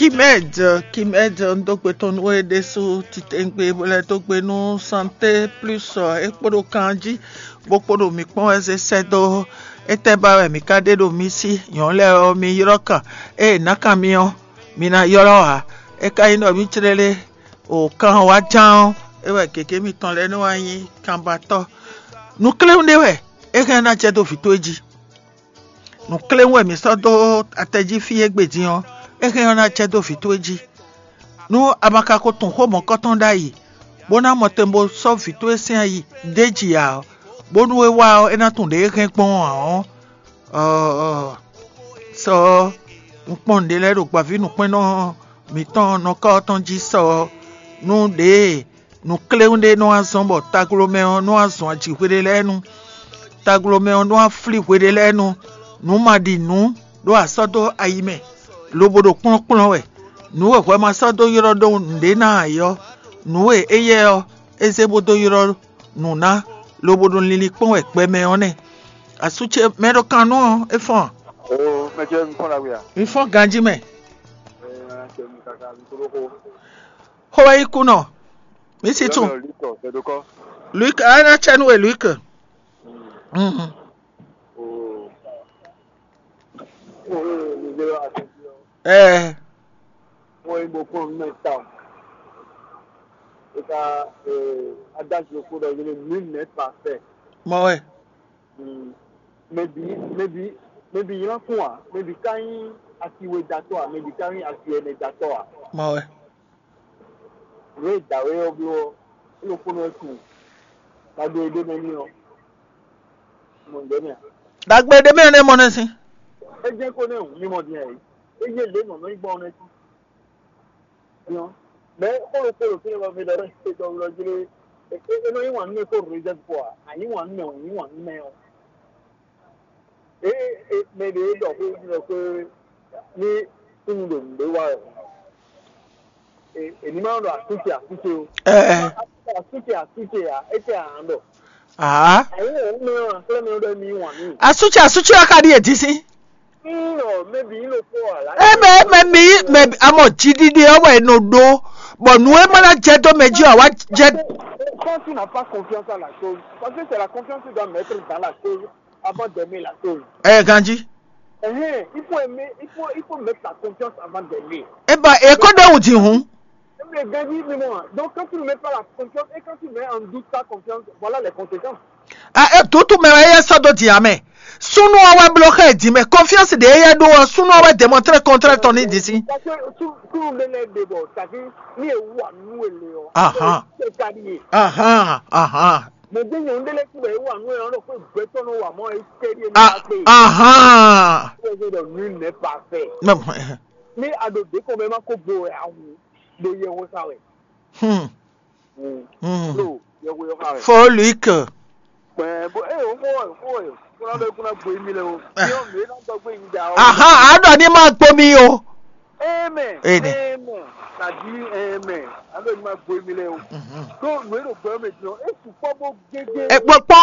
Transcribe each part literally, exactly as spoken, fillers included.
Kimed, Kimed, un dó gbe tɔn nú we ɖésú titewungbe bó lɛ́ dó gbe nú Santé Plus, ɔ, é kpo ɖo kan jí, bó kpo ɖo mǐ kpɔ́n wɛ zé sɛ́ dó. Étɛ́ ba wɛ mǐ ka ɖe ɖo mi sí? Nyɔ̌nu lɛ́ɛ ɔ́, mi ylɔ́ kan. Ée è nǎ kan mi ɔ́, mi ná ylɔ́ ǎ. É ka nyí ɖɔ mǐ clélé o kan ɔ́ wá ján ɔ́, é wɛ gěgé mitɔn lɛ́ɛ nɔ wá nyí kanbatɔ́. Nǔkléwún ɖé wɛ é hɛn ná jɛ dó vǐ towe jí. Nǔkléwún wɛ mǐ sɔ́ dó atɛ jí fí égbé din ɔ́, é hɛn ɔ́ ná jɛ dó vǐ towe jí. Nú a ma ka ko tunwun xó mɔ̌kɔ́tɔn ɖ'ayǐ, bó ná mɔ tɛn bó sɔ́ vǐ towe sín ayi d'é jí ǎ ɔ́, bónú é wá ɔ́, é ná tunwun ɖě é hɛn gbɔn ǎ ɔ́, ɔ, ɔ, sɔ ɔ́, un kpɔ́n nǔɖé lɛ́ɛ ɖo gbǎvínǔkpɛ́nnɔ mǐtɔn nɔkɔ́ ɔ́ tɔn jí sɔ ɔ́, nú ɖěe nǔkléwún ɖé nɔ wá zɔ́n bɔ taglomɛ ɔ́ nɔ wá zɔn ajǐ hweɖé lɛ́ɛ nu. Taglomɛ ɔ́ nɔ wá flí hweɖé lɛ́ɛ nu. Nǔ ma ɖi nǔ ɖó a sɔ́ dó ayi mɛ, lobo ɖo kplɔ́nkplɔ́n wɛ. Nǔ e hwɛ ma sɔ́ dó ylɔ́ ɖó nǔɖé ná ǎ é ɔ́, nǔ e éyɛ́ ɔ́, é zé bó dó ylɔ́ nǔ ná, lobo ɖo linlin kpɔ́n wɛ gbɛ mɛ ɔ́ nɛ́. Asú ce mɛ ɖo kan nú ɔ́, é fɔ́n a? Oo, mɛ ce mi fɔ́n ɖagbe a? Mi fɔ́n ganjí mɛ. Ee, mɛ ce mi kaka mi kúɖó xó. Xó wɛ nyí kú nɔ. Mi sí tún. Yɔ́mɛ Luc, c'est de quoi? Luc, a ná tsɛ nú we Luc. Mhm. Oo. Oo, mi zé wá àti ɔ́. Ɛɛ. Wọ́n yí mo kpɔ́n nú mɛ ta. É ká, ee, adájọ́ kó ɖɔ yé nul n'est parfait. Mɔ wɛ. Mm. Maybe, maybe, maybe ylɔ́ kún a, maybe ka nyí asi we datɔ a, maybe ka nyí asi ɛnɛ datɔ a. Mɔ wɛ. Nǔ e dǎwe ɔ́ bló ɔ́, é ɖokpónɔ wɛ tunwun. Ɖagbe e ɖ'é mɛ n'i ɔ́, mɔ nǔ ɖé mɛ a? Ɖagbe e ɖ'é mɛ ɔ́ nɛ́ mɔ nɛ́ sín. É jɛ́n ko nɛ́ hǔn mì mɔ din ǎ é. É yé lě nɔ̌ nɔ nyí gbɔn ɔ́ nɛ́ sín. Nyɔ, mɛ xó ɖokpó ɖo fínɛ́ bɔ mi ɖɔ ɖɔ é ɖɔ wlɔ jí lé. É é nɔ yí wǎn nú mɛ kó rézɛ́v kpó a? A yí wǎn nú mɛ, wǎn yí wǎn nú mɛ ɔ́. Ée mɛ ɖě ɖɔ xó ɖɔ xó ní súnnu ɖo nǔɖé wa wɛ. È ní ma ɖɔ asúce asúce ó. Ɛɛ. Asúce asúce ǎ, é tɛ ǎ ɖɔ. Aa. Ayé ɔ́ mɛ ɔ́ xlɛ́ mɛ ɖɔ mi wǎn mì. Asúce asúce ɔ́ ka ɖíe dín sín. Ńlɔ mɛbi yín ló kpó ǎ lá. Eme eme mi mɛ amɔ jiɖiɖe ɔ́ wɛ è nɔ ɖó, bɔ nǔ e ma ná jɛ dó mɛ jí ɔ́ wá jɛ. Quand tu n'as pas confiance à la chose, parce que c'est la confiance que tu dois mettre dans la chose avant d'aimer la chose. Ɛ ganjí. Ɛhɛn, il faut aimer, il faut, il faut mettre la confiance avant d'aimer. Eba èkó ɖe wù dì hùn. Mais Gandhi, mais moi, donc quand tu ne mets pas la confiance et quand tu mets en doute ta confiance, voilà les conséquences. A e tutu mɛ wɛ yɛ sɔ́ dó dǐ ǎ mɛ. Súnnu ɔ́ wɛ bló xá ɛ dǐ mɛ. Confiance ɖě yɛ ɖó ɔ́, súnnu ɔ́ wɛ démontré contraire tɔn ní dǐ sí. Parce que tout tout le monde est débord, ça fait ni e wa nu ele o. Aha. C'est ça lié. Aha, aha. Mais bien on délai qui va wa nu e on ko beto no wa mo e sérieux ni Ah, ape. Aha. Nul n'est parfait. Mɛ- Ni a ɖo ɖě kɔn mɛ ma ko gbo wɛ awu ɖo yɛ wo sa wɛ. Hmm. Mm. Hmm. Lo yɛ wo yɔ ka wɛ. Fo Luc. Kpɛɛ bo ee o ko wɛ ko wɛ ko na bɛ ko na gbo emi lɛ o. Eh. Yɔ mi na gbɔ gbo emi da o. Aha, a ɖɔ ní ma gbó mi o. Amen. Amen. Amen. Kàdí amen. A ɖɔ ní ma gbo emi lɛ o. Mhm. Tó nù é ɖo gbɛ mɛ jɔ é sùpɔ bó gégé. Ekpɔkpɔ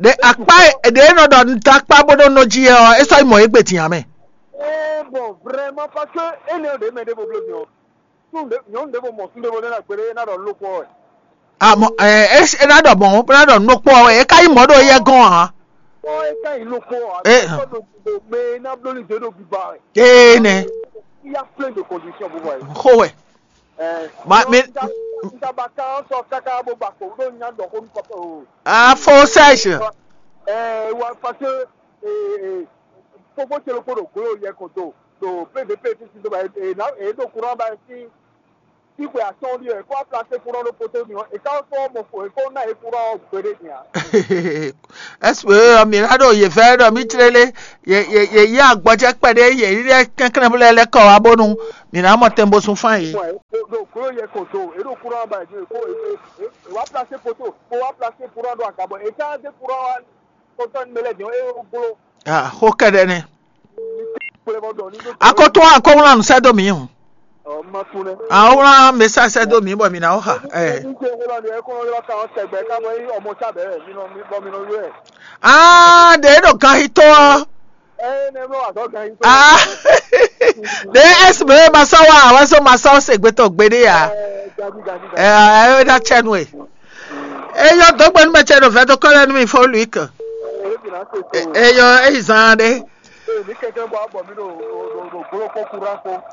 ɖe akpa ɖe nɔ ɖɔ nta akpa bó ɖo nɔ jí ɛ ɔ, é sɔ yi mɔ é gbè tìyàn mɛ. Ee bɔn vrɛmɔ parce que é nɛ ɖe mɛ ɖe bo bló mi o. Nyɔnu ɖěvo mɔ súnɖévo lɛ́ɛ ná gbeɖé ná ɖɔ nǔ lókpɔ́ wɛ. Amɔ ɛ é ná ɖɔ mɔ̌ bó ná ɖɔ nǔ lókpɔ́ wɛ é ka nyí mɔ̌ ɖo éyɛ́ gɔ́n ǎ. Ɔ é ká nyí lókpɔ́ ǎ. É hàn. Mɛ ná bló ní dó ɖo biba wɛ. Ee nɛ. Iya plein de conditions bó wà yìí. Xó wɛ. Ɛ Ma- mi- Ntabaka sɔ kaka bó ba kò ɖó nya ɖɔ xó nú papa o. Afo sèche. Ɛ wa parce que ee fofo tse lókpó ɖo glo yɛ kò do ɖo P V P fi si do ba e na e ɖo courant ba si. Ikwe atɔn ɖi ɛ kó aplase kúrɔ ɖo poto mi ɔ eka fɔ mɔ fo eko na e kúrɔ gbeɖe nia. Ɛsipɛ ɔ mi ná ɖo yě fɛ ɖɔ mí tlélé yě yě yě yí agbɔjɛ kpɛɖé yě yí lɛ kɛnklɛ́n bó lɛ lɛ kɔ wá bónú mǐ ná mɔ tɛn bó sún fán yě. Ɖo glo yɛ ko do e ɖo kúrɔ ba ju ko e wa plase poto ko wa plase kúrɔ ɖo agabɔ e ka de kúrɔ wa kɔtɔn mɛ lɛ diɔ e glo. Ah, xó kɛɖɛ nɛ. Akɔtɔn akɔwlan sɛ dó mi hùn. Awlan mesa sɛ dó mi bɔ mi na wò xa. Ɛ. Ah, ɖe ɖo gan hitɔ. Ah, ɖe S Mɛ ma sɔ́ wá, wá sɔ́ ma sɔ́ se gbetɔ gbeɖé ǎ. Ɛ ɛ ná tsɛ nú e. Eyɔ dɔgbe nú mɛ tsɛ ɖo vɛdokɔ lɛ nú mi fɔ Luik. Eyɔ eyi zan ɖe.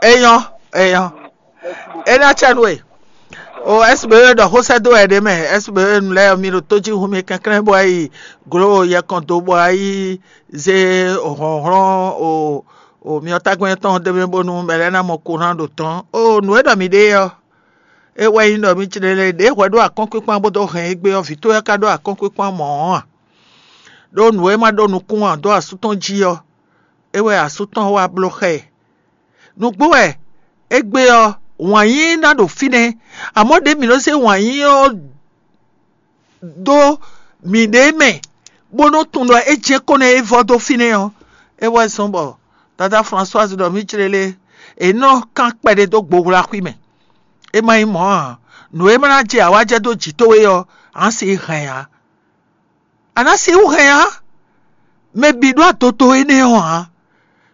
Eyɔ eyɔ. E ná tsɛ nú e. O S B E ɖɔ xó sɛ́ dó wɛ ɖé mɛ, S B E nu lɛ́ɛ mi ɖo tó jí hu mi kɛnklɛ́n bɔ yi glo yɛkɔn dó bɔ yi zé hlɔ̌nhlɔ́n o o myɔ tágbɛ́n tɔn ɖé mɛ bónú mɛ lɛ́ɛ ná mɔ kó ná ɖo tɔn. O nǔ e ɖɔ mi ɖe ɔ́, é wɛ nyí ɖɔ mi clé lé ɖě hwɛ ɖó akɔ́nkpínkpán bó dó hɛn égbé ɔ́, vǐ towe ɔ́ ka ɖó akɔ́nkpínkpán mɔ̌ ɔ́ a? Ɖó nǔ e ma ɖó nukún ǎ dó asú tɔn jí ɔ́, é wɛ asú tɔn wá bló xá ɛ. Nǔgbó wɛ égbé ɔ́, wǎn yíyí ná ɖo fínɛ́, amɔ̌ ɖě mǐ nɔ́ zé wǎn yíyí ɔ́ dó mǐɖée mɛ, bó nɔ́ tunwun ɖɔ é jɛ́n kó nɛ́ é vɔ́ dó fínɛ́ ɔ́, é wɛ zɔ́n bɔ dadá Françoise ɖɔ mǐ clélé, è nɔ kán kpɛɖé dó gbohwlaxwí mɛ. É ma nyí mɔ̌ ǎ, nǔ e ma ná jɛ awǎjɛ dó jǐ towe ɔ́, ǎ si hɛn ǎ. A nǎ sixú hɛn ǎ. Mɛ bǐ ɖó adoto énɛ́ ɔ́ ǎ,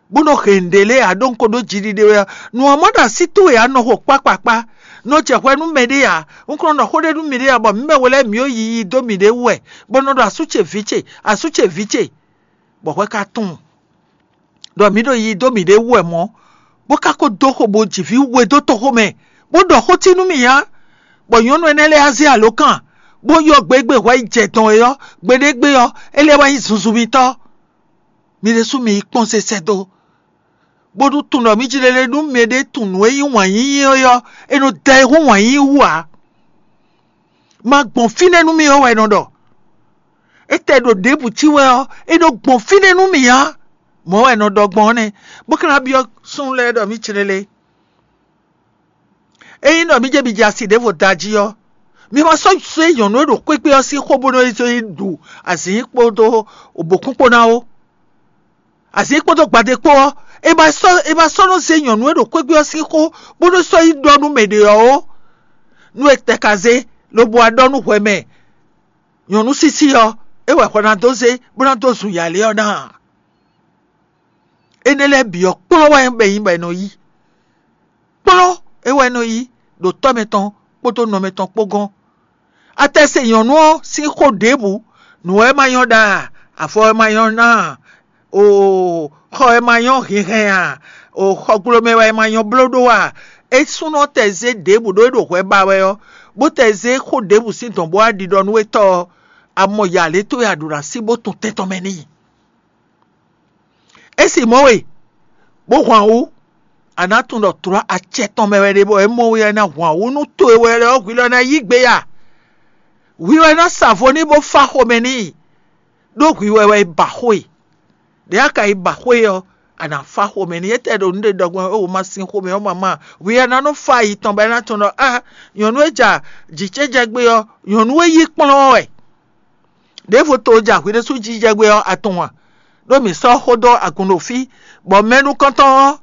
bó nɔ hɛn nǔɖé lɛ́ɛ ǎ ɖó un ko ɖó jiɖiɖe wɛ ɔ́, nǔ ɔ́ mɔ ɖo así towe ǎ nɔ xo kpákpákpá, nɔ jɛ hwɛ nú mɛɖé ǎ, un ko nɔ ɖɔ xó ɖé nú mǐɖée ǎ, bɔ mǐ mɛ we lɛ́ɛ mǐ ɖo yiyi dó mǐɖée wú wɛ, bó nɔ ɖɔ asú ce vǐ ce, asú ce vǐ ce, bɔ hwɛ ka tunwun ɖɔ mǐ ɖo yiyi dó mǐɖée wú wɛ mɔ̌, bó ka ko dó xo bó ji vǐ we dó toxo mɛ, bó ɖɔ xó cí nú mì ǎ, bɔ nyɔ̌nu énɛ́ lɛ́ɛ wá zé alǒkan, bó ylɔ́ gbe e gbe hwɛ yi jɛ dɔn é ɔ́, gbeɖé gbe ɔ́, é lɛ́ wá nyí zunzun mitɔ́. Mi ɖésú mi yi kpɔ́n se sɛ́ dó, bónú tunwun ɖɔ mǐ jí lele nú mɛɖé tunwun nǔ e nyí wǎn yíyí ɔ́, é nɔ da ayihún wǎn yíyí wú ǎ. Ma gbɔn fínɛ́ nú mì ɔ́ wɛ è nɔ ɖɔ. Étɛ́ ɖo ɖěbǔ cí wɛ ɔ́, é nɔ gbɔn fínɛ́ nú mì ǎ. Mɔ̌ wɛ è nɔ ɖɔ gbɔn ɔ́ nɛ́, bó ka ná byɔ́ súnnu lɛ́ɛ ɖɔ mǐ cí lele. Ényí ɖɔ mǐ jɛ mǐ jɛ asi ɖěvo da jí ɔ́, mi ma sɔ́ zé nyɔ̌nu e ɖo xwégbé ɔ́ sín xó bónú é zé yi ɖu azǐn kpódó bǒkún kpó ná ó. Azǐn kpódó gbadé kpó ɔ́, è ma sɔ́ è ma sɔ́ nɔ zé nyɔ̌nu e ɖo xwégbé ɔ́ sín xó bónú sɔ́ yi ɖɔ nú mɛ ɖě ɔ́ ó. Nú è tɛ ka zé, lobo wá ɖɔ nú hwɛ mɛ nyɔ̌nu sísí ɔ́, é wɛ hwɛ ná dó zé bó ná dó zun yǎlé ɔ́ ná ǎ. Énɛ́ lɛ́ɛ bǐ ɔ́, kplɔ́n wɛ bɛ nyí bɔ è nɔ yí. Kplɔ́n é wɛ nɔ yí ɖo tɔ́ mɛtɔn kpódó nɔ mɛtɔn kpó gɔ́n. Atɛse nyɔ̌nu ɔ́ sín xó ɖěbǔ, nǔ wɛ ma nyɔ́ ɖa, afɔ wɛ ma nyɔ́ ná, o xɔ wɛ ma nyɔ́ hinhɛn a, o xɔgblomɛ wɛ ma nyɔ́ bló ɖó a, é súnɔ tɛ zé ɖěbǔ ɖó é ɖo hwɛ ba wɛ ɔ́, bó tɛ zé xó ɖěbǔ sín dɔ̌n bó wá ɖiɖɔ nú étɔ́ ɔ́, a mɔ yǎ lě towe a ɖǒ ná sí bó tun tɛn tɔn mɛ n'i. É sì mɔ̌ we, bó hwan wú, a nǎ tunwun ɖɔ tlɔ̌ acɛ tɔn mɛ wɛ ɖe bɔ é mɔ we ɔ́ ná hwan wú nú to e wɛ lɛ́ɛ ɔ́ hwi lɔ ná yí gbe ya. Hwi wɛ ná sa vo n'i bó fá xomɛ n'i, ɖó hwi wɛ wɛ é ba xó e. Ɖě a ka yi ba xó e ɔ́, a nǎ fá xomɛ n'i. Étɛ́ ɖo nǔ ɖe ɖɔ gbɔn é wǒ ma sín xomɛ ɔ́ mamá, hwi wɛ ná nɔ fá ayi tɔn bɔ é ná tunwun ɖɔ a nyɔ̌nu e ja jǐ ce jɛ gbe ɔ́, nyɔ̌nu e yí kplɔ́n ɔ́ wɛ. Ɖěvo to ja hwi ɖésú jijɛ gbe ɔ́, a tunwun a? Ɖó mǐ sɔ́ xó dó agun ɖo fí, bɔ mɛ nukɔntɔn ɔ́,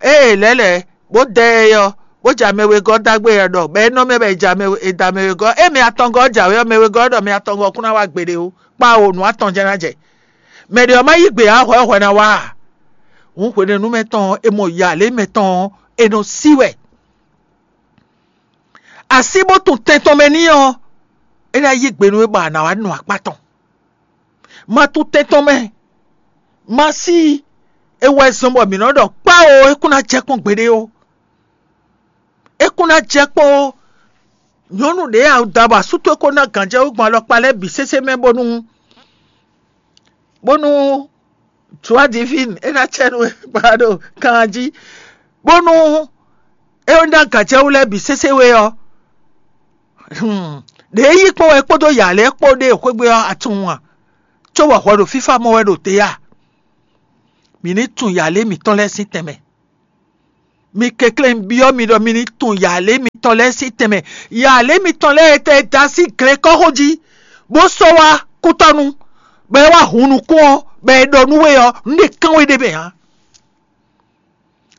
ée lɛ̌ lɛ̌ bó dɛ ɛ ɔ́, bó ja mɛ wegɔ́ dó agbe ɛ ɖɔ bɔ é nɔ mɛ bɔ è ja mɛ è da mɛ wegɔ́. Ée mɛ atɔngɔ́ ɔ́ jǎwe ɔ́, mɛ wegɔ́ ɔ́ ɖɔ mɛ atɔngɔ́ ɔ́ kún ná wá gbeɖé ó, kpá o nǔ atɔn jɛ́n ná jɛ. Mɛ ɖě ɔ́ má yí gbe ǎ, hwɛ ɔ́ hwɛ ná wá a? Hǔn hwenɛ́nu mɛ tɔn ɔ́, è mɔ yǎ lě mɛ tɔn ɔ́, è nɔ sí wɛ. Así bó tun tɛn tɔn mɛ n'i ɔ́, é ná yí gbe nú we bɔ a nǎ wá nu akpá tɔn. Ma tún tɛn tɔn mɛ, ma sí i. É wɛ zɔ́n bɔ mǐ nɔ ɖɔ kpá o, é kún ná jɛ kpɔ́n gbeɖé ó. É kún ná jɛ kpɔ́n ó. Nyɔ̌nu ɖě a da bɔ asú towe ko ná gǎnjɛwú gbɔn alɔkpa lɛ́ɛ bǐ sésé mɛ bónú bónú joie divine é ná cɛ nú we ba ɖo kan jí, bónú é ná gǎnjɛwú lɛ́ɛ bǐ sésé we ɔ́. Ɖě é yí kpɔ́n wɛ kpódó yǎ lɛ́ɛ kpó ɖe xwégbé ɔ́, a tunwun a? Cóbɔ hwɛ ɖo fífá mɔ wɛ ɖo te a? Mǐ ní tunwun yǎ lě mǐtɔn lɛ́ɛ sín tɛnmɛ. Mi kɛnklɛ́n byɔ́ mi ɖɔ mi ní tunwun yǎ lě mitɔn lɛ́ɛ sín tɛnmɛ. Yǎ lě mitɔn lɛ́ɛ e tɛ da sín glɛ̌nkɔ́xo jí, bó sɔ́ wá kútɔ́nu, bɔ é wá hun nukún ɔ́, bɔ è ɖɔ nú we ɔ́, nǔ ɖé kán we ɖ'é mɛ ǎ.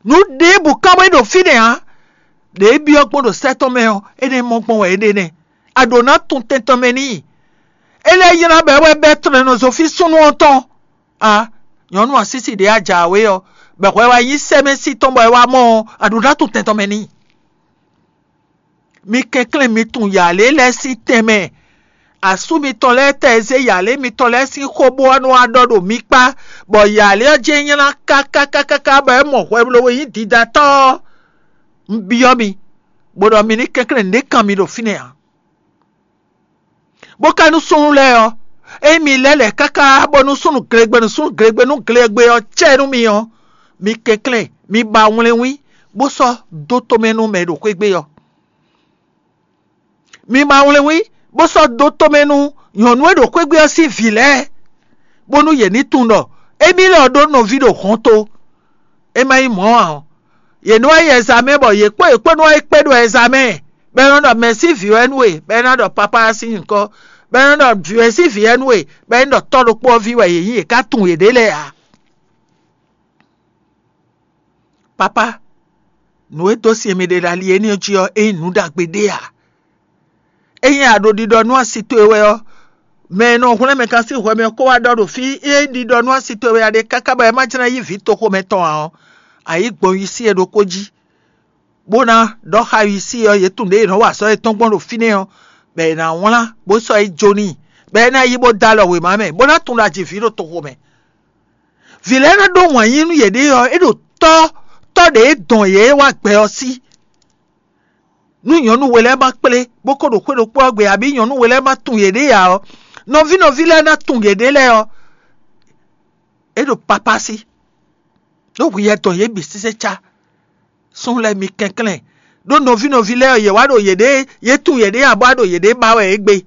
Nǔ ɖěbǔ kán wɛ ɖo fínɛ́ ǎ. Ɖě é byɔ́ gbɔn ɖo sɛ́ tɔn mɛ ɔ́, énɛ́ mɔ gbɔn wɛ é ɖe nɛ́. A ɖǒ ná tunwun tɛn tɔn mɛ n'i. É lɛ́ nylá bɔ é wɛ bɛ́ tlɛnɔzɔfí súnnu ɔ́ tɔn. A nyɔ̌nu asísi ɖě a jǎwe ɔ́, Bɔ hwɛ wá nyí sɛ́mɛ́sí tɔn bɔ é wá mɔ ɔ́, a ɖǒ ná tunwun tɛn tɔn mɛ n'i. Mi kɛnklɛ́n mi tunwun yǎlé lɛ́ɛ sín tɛnmɛ. Asú mitɔn lɛ́ɛ tɛ e zé yǎlé mitɔn lɛ́ɛ sín xó bó ɔ́ nɔ wá ɖɔ ɖo mi kpá, bɔ yǎlé ɔ́ jɛ́n nylá káká káká bɔ é mɔ hwɛ lobo nyí didatɔ́ ɔ́. Un byɔ́ mi, bó ɖɔ mi ní kɛnklɛ́n nǔɖé kan mi ɖo fínɛ́ ǎ. Bó ka nú súnnu lɛ́ɛ ɔ́, ényí mi lɛ́ lɛ̌ káká bónú súnnu glegbenu súnnu glegbenu glegbe ɔ́ cɛ nú mi ɔ́, mi kɛnklɛ́n, mi ba wlɛnwín, bó sɔ́ dó tomɛ nú mɛ e ɖo xwé gbe ɔ́. Mi ba wlɛnwín, bó sɔ́ dó tomɛ nú nyɔ̌nu e ɖo xwé gbe ɔ́ sín vǐ lɛ́ɛ, bónú yě ní tunwun ɖɔ émí lɛ́ ɔ́ ɖó nɔví ɖo hɔnto. É má nyí mɔ̌ ǎ ɔ́, yě nɔ wá yi ɛzamɛ bɔ yě kpó yě kpó nɔ wá yi kpé ɖo ɛzamɛ, bɔ é nɔ ɖɔ mɛ̌ sín vǐ wɛ nú we, bɔ é ná ɖɔ papá ɔ́ sín nyǐkɔ, bɔ é nɔ ɖɔ vǐ wɛ sín vǐ wɛ nú we, bɔ é nɔ ɖɔ tɔ́ ɖokpó ɔ́ ví wɛ yě nyí, yě ká tunwun yěɖée lɛ́ɛ ǎ. Papá, nǔ e dó sin e mi ɖe ɖo ali énɛ́ jí ɔ́, é nyí nǔ ɖagbe ɖé ǎ. Ényí a ɖo ɖiɖɔ nú asi towe wɛ ɔ́, mɛ e nɔ hwlɛ́n mɛ gán sín hwɛ mɛ ɔ́ kó wá ɖɔ ɖo fí, é ɖiɖɔ nú asi towe wɛ a ɖe káká bɔ é má jlɛ́ yí vǐ toxomɛ tɔn ǎ ɔ́, a yǐ gbɔn wisí e ɖokpó jí, bó ná ɖɔ xá wisí ɔ́, yě tunwun ɖě yě nɔ wa azɔ̌ yětɔn gbɔn ɖo fínɛ́ ɔ́, bɔ è nǎ wlán bó sɔ́ yi jó n'i, bɔ é ná yi bó dó alɔ wěma mɛ, bó ná tunwun ɖo ajivǐ ɖo toxo mɛ. Vǐ lɛ́ɛ ná ɖó wǎn yí nú yěɖée ɔ́, é ɖo tɔ́ tɔ́ ɖě e dɔn yě wá gbɛ ɔ́ sí. Nú nyɔ̌nu we lɛ́ɛ ma kplé, bó ko ɖo xwé ɖokpó ɔ́ gbe, abǐ nyɔ̌nu we lɛ́ɛ ma tunwun yěɖée ǎ ɔ́, nɔví nɔví lɛ́ɛ ná tunwun yěɖée lɛ́ɛ ɔ́, é ɖo papá sí, ɖó hwi yɛ dɔn yě bǐ sésé cá. Súnnu lɛ́ɛ mi kɛnklɛ́n, ɖó nɔví nɔví lɛ́ɛ ɔ́, yě wá ɖo yěɖée, yě tunwun yěɖée ǎ bó wá ɖo yěɖée ba wɛ égbé,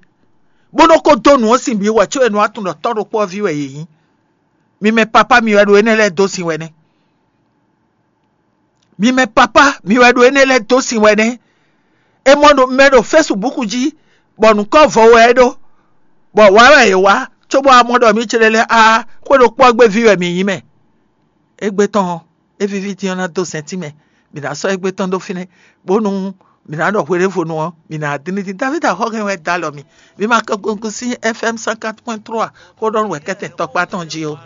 bó nɔ́ ko dó nǔ ɔ́ sin bǐ wɛ có è nɔ wá tunwun ɖɔ tɔ́ ɖokpó ɔ́ ví wɛ yě nyí. Mi mɛ papá mi wɛ ɖo énɛ́ lɛ́ɛ dó sin wɛ nɛ́. Mi mɛ papá mi wɛ ɖo énɛ́ lɛ́ɛ dó sin wɛ nɛ́. È mɔ ɖo mɛ ɖo fɛ́subúku jí, bɔ nǔkɔ́ vɔ wɛ é ɖó, bɔ wǎ wɛ è wá, cóbɔ a mɔ ɖɔ mǐ céɖé lɛ́ɛ á xwé ɖokpó ɔ́ gbe ví wɛ mǐ nyí mɛ. Égbé tɔn ɔ́, é víví din ɔ́ ná dó sɛntín mɛ. Mǐ ná sɔ́ égbé tɔn dó fínɛ́, bónú mǐ ná ɖɔ hweɖěvonu ɔ́, mǐ ná dín ní dín. David Axɔ́hɛn wɛ dó alɔ mì. Mi ma kɔ gungun sín F M cent quatre point trois xó ɖɔ nú wɛ̌kɛ́tɛn tɔkpá tɔn jí ó.